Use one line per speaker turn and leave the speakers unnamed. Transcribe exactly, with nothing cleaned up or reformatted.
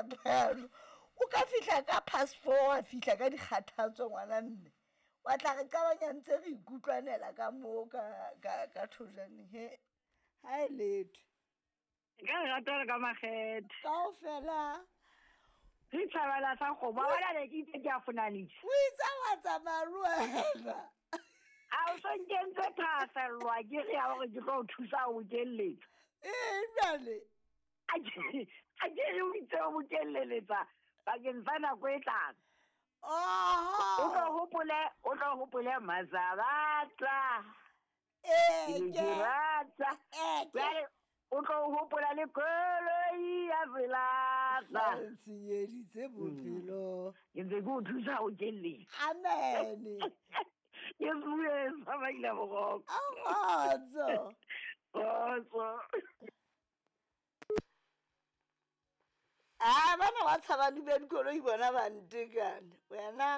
sefapano. O ka fihla ka past four wa fihla ka dikgathatso ngwana mme. Wa tla re qabanya ntse re ikutlwanela ka moo ka ka ka thojaneng he. Ha e letho.
Ka lerato le ka makgethe.
Kaofela.
Re thabela sa kgomo. Wa bona ne ke itse ke a fonanisa.
O itse wa tsamaya le wena.
A o so nkentse thahasellwa ke re ya hore ke tlo o thusa ho bokelletsa.
Ee, jwale.
A ke a ke re o itse o bokelleletsa bakeng sa nako e tlang.
Oho.
O tlo hopole, o tlo hopole Mazabatla.
Ee,
Ke
ke.
ke rata.
Ee, ke.
Jwale o tlo hopola le koloi ya selahla.
Ba ntshenyeditse bophelo.
Ke ntse ke o thusa ho kelletsa.
Amen.
Ke bue sa maila boroko.
Kgotso.
Kgotso.
Ah, bana ba tshaba le ba dikoloi bona ba ntekane. Wena